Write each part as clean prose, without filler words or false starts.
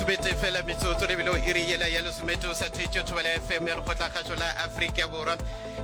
Lesometee fela metsotso re bile o iri yela ya lesometee o sa theetše Thobela FM ya Lekgotlakgašo la Afrika Borwa.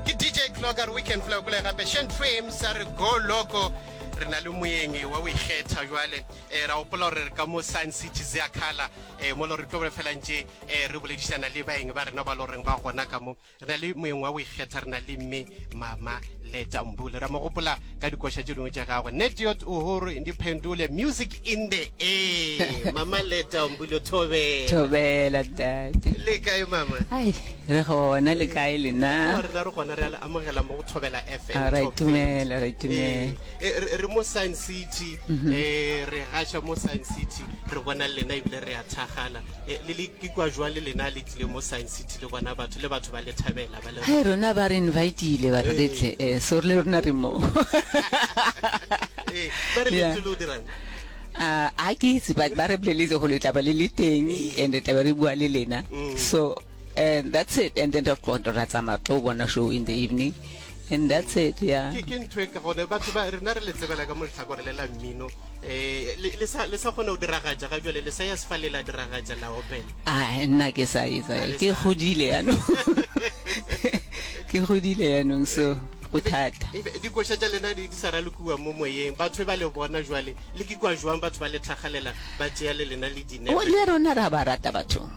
Ke DJ Clock a re weekend fela kule gape Shen Frames a re go loco. Re na le moeng wa o ikgetha jwale eh, ra gopola gore re ka mo Sun City Zeakhala eh, mo lo re tlo be fela ntše eh, re boledišana le baeng ba rena ba lo reng ba gona ka mo. Re na le moeng wa go ikgetha, re na le mme Mama Leta Mbule. Ra mo gopola ka dikoša tše dingwe tša gagwe. Netiot Uhuru Ndiphendule, Music in the Air. Mama Leta Mbule, thobela. Thobela, ntate. Le kae mama? Ai, re gona le kae lena? Rena re gona re a le amogela mo go Thobela FM. A ra Top 30. itumela, ra itumela. Eh, re re mo Sun City, eh re gaša mo Sun City, re bona lena ebile re a thagala. Eh, le le ikwa jwang le lena le tlile mo Sun City le bona batho le batho ba le thabela ba le Hai rona ba re invitile ba re re tle eh so le rona re mo. Eh, ba re le Yeah. tlile o dirang? Ah, a ke itse but ba re boleletse gore le tla ba le le teng and re tla be re bua le lena. So and that's it and then ra ra tsamaya re tlo bona show in the evening and that's it yeah. Ke ke ntho e ka gone batho ba rena re le tsebela ka mo lehlakore le la mmino eh le le sa le sa kgona go diragatša ga jwale le sa ya sefale la diragatša la opela. A nna ke sa etsa Ha le ke sa. godile yanong ke godile yanong so go thata. Ebe dikoša tša lena di di sa ralokiwa mo moyeng batho ba le bona jwale le ke kwa jwang batho ba le tlhagalela ba tšea le lena le dinepe. O le rona ra ba rata batho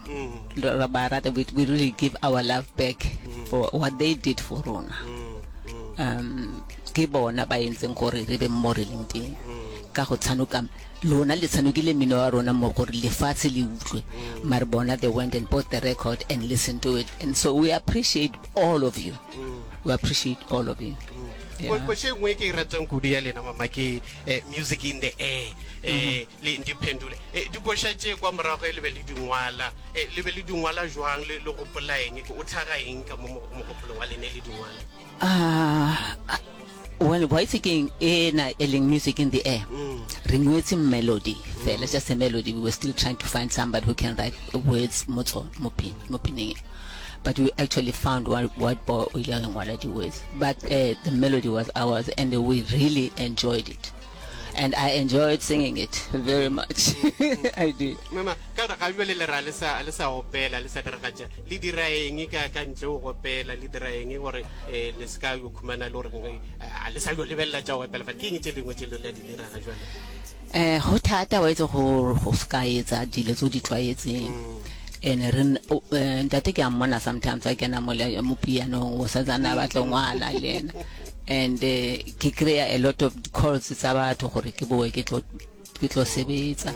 ra ba rata we, we really give our love back for what they did for rona um ke bona ba entseng gore re be mo re leng teng ka go tshanoka lona le tshanokile mmino wa rona mo gore lefatshe le utlwe mare bona they went and bought the record and listened to it and so we appreciate all of you we appreciate all of you yeah. Koše e nngwe e ke e ratang kudu ya lena mama ke eh, music in the air eh, le ndiphendule eh, dikoša tše kwa morago le be le dingwala eh, le be le dingwala jwang le le gopola eng o tlhaga eng ka mo mogopolong wa lene le dingwala Ah, well wa itse keng ena e leng music in the air re ngwetse melody fela just a melody we were still trying to find somebody who can write words mo tsone mo pin mo pineng e. but we actually found one white boy o ile a ngwala di-words but uh, the melody was ours and we really enjoyed it and I enjoyed singing it very much. I did. Mama, ka gore ga bjale le ra le sa le sa opela le sa diragatša le dira eng ka ka ntle go opela le dira eng gore eh, le se ka yo khumana le gore eh, a le sa yo lebelela tša go opela fa ke eng tše dingwe tše le la di dira ga jwale Eh go thata wa itse go go ska etsa dilo tse o di tlwaetseng. And re eh, ntate ke a mmona sometimes a kena mo le- mo pianong o santsane a batla go ngwala le ena. And eh, ke kry-a a lot of calls tsa batho gore ke boe ke tlo ke tlo sebetsa.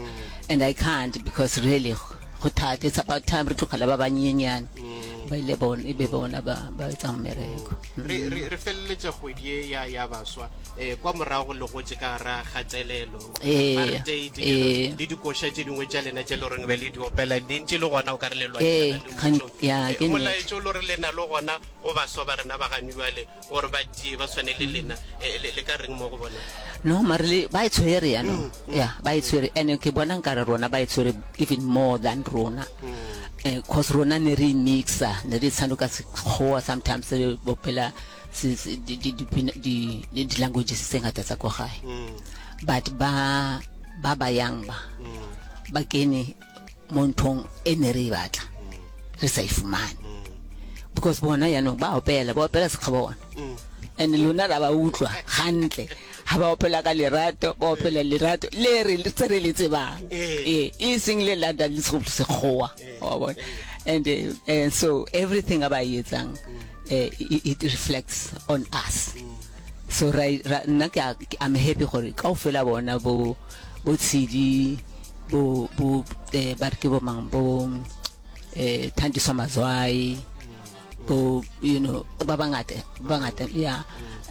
And I can't because really go thata it's about time re tlogela ba banyenyane ba ile bona e be bona ba ba etsang mmereko. re re re feleletša kgwedi ye ya ya baswa eh kwa morago le gotše ka gara kgatelelo Ee, apartheid ee. le dikoša tše dingwe tša lena tše le goreng be le di opela di ntše le gona o ka re le Ee, lwantšhana le gan- mmušo ya, Eh, ke nnete. molaetša o le gore le na le gona go baswa ba rena ba gane bjale gore ba tie ba tshwane le lena eh, le le ka reng mo go bona No, mare le ba e tshwere yaanong ya ba e tshwere and ke bona nkare rona ba e tshwere even more than rona eh cause rona ne re mixa ne re tshanoka sekgowa sometimes re bopela se- se- di di di di di di languages tse ngata tsa ko gae but ba ba ba yang ba ba kene mo nthong e ne re e batla re sa e fumane because bona yaanong ba opela ba opela sekgwa bona and lona ra ba utlwa gantle ha ba opela ka lerato ba opela lerato le re tse re le tsebang ee e seng le lata le sekgowa wa bona and uh, so everything a ba e etsang uh, it, it reflects on us so ra ra- nna ke a- ke- I'm happy gore kaofela bona bo bo Tshidi bo bo eh, ba re ke bo mang bo eh Thandiswa Mazwai bo you know ba bangata ba bangata yeah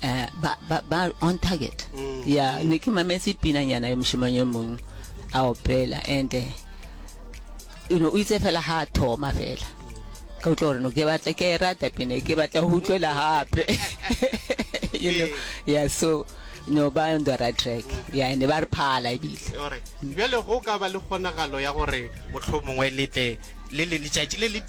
eh ba ba ba on target yeah ne ke mametse pinanyana ya moshimane yo mongwe a opela and eh, you know o itse fela ha a thoma fela ka utlwa gore no ke batla ke e rata pina e, ke batla go utlwela gape you know yeah so no ba on the right track yeah and ba re phala ebile Alright. Bjale go ka ba le kgonagalo ya gore mohlomongwe le tle le le letšatši le le tee.